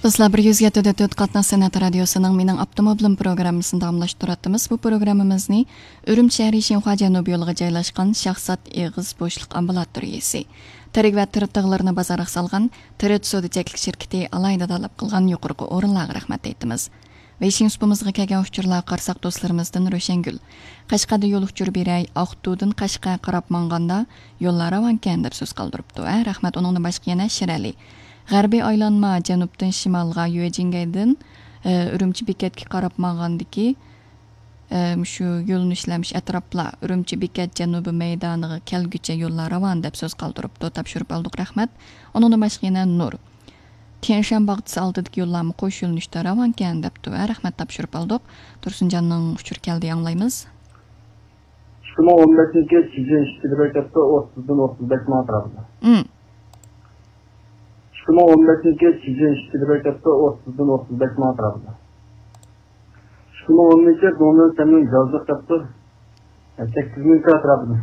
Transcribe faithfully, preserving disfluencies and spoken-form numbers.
دوستلار، بىر يۈز يەتتە دە تۆت قاتناش سەنئەت رادىيوسىنىڭ مېنىڭ ئاپتوموبىلىم پروگراممىسىنى داۋاملاشتۇرۇۋاتىمىز. بۇ پروگراممىمىزنى ئۈرۈمچى شەھىرى شىنخۇا جەنۇبىي يولىغا جايلاشقان شاھزات ئېغىز بوشلۇق ئامبۇلاتورىيىسى، تىرىك ۋە تىرىت تىغلىرىنى بازارغا سالغان تىرىت سودا چەكلىك شىركىتى ئالاھىدە تاللاپ قىلغان يۇقىرىقى ئورۇنلارغا رەھمەت ئېيتىمىز. ۋېيشىن سۇپىمىزغا كەلگەن ئۇچۇرلارغا قارىساق، دوستلىرىمىزدىن روشەنگۈل، قەشقەردە يول ئۇچۇر بېرەي، ئاقتۇدىن قەشقەرگە قاراپ ماڭغاندا يوللار راۋانكەن، دەپ سۆز قالدۇرۇپتۇ. ھە، رەھمەت. ئۇنىڭدىن باشقا يەنە شىرئەلى، غەربىي ئايلانما، جەنۇبتىن شىمالغا يۈەجىنگەيدىن، ئە، ئۈرۈمچى بېكەتكە قاراپ ماڭغاندىكى، ئە، مۇشۇ يۆنىلىشلەر، مۇشۇ ئەتراپلار، ئۈرۈمچى بېكەت جەنۇبىي مەيدانىغا كەلگۈچە يوللار راۋان، دەپ سۆز قالدۇرۇپتۇ. تاپشۇرۇپ ئالدۇق، رەھمەت. ئۇنىڭدىن باشقا يەنە نۇر، تيەنشان باغچىسى ئالدىدىكى يوللارمۇ قوش يۆنىلىشتە راۋانكەن، دەپتۇ. ھە، رەھمەت، تاپشۇرۇپ ئالدۇق. تۇرسۇنجاننىڭ ئۇچۇرى كەلدى، ئاڭلايمىز. ئىككى مىڭ ئون بەشىنچى يىلى چىجىن ئىككى كىلومېتىردا ئوتتۇزدىن ئوتتۇز بەش مىڭ ئەتراپىدا. ئىككى مىڭ ئون بەشىنچى يىلى چىجىن ئىككى كىلومېتىردا ئوتتۇزدىن ئوتتۇز بەش مىڭ ئەتراپىدا. ئىككى مىڭ ئون بەشىنچى يىلى دۇڭنىڭ سەننىڭ جازلىق كەپتۇ. سەككىز مىڭ ئەتراپىدا.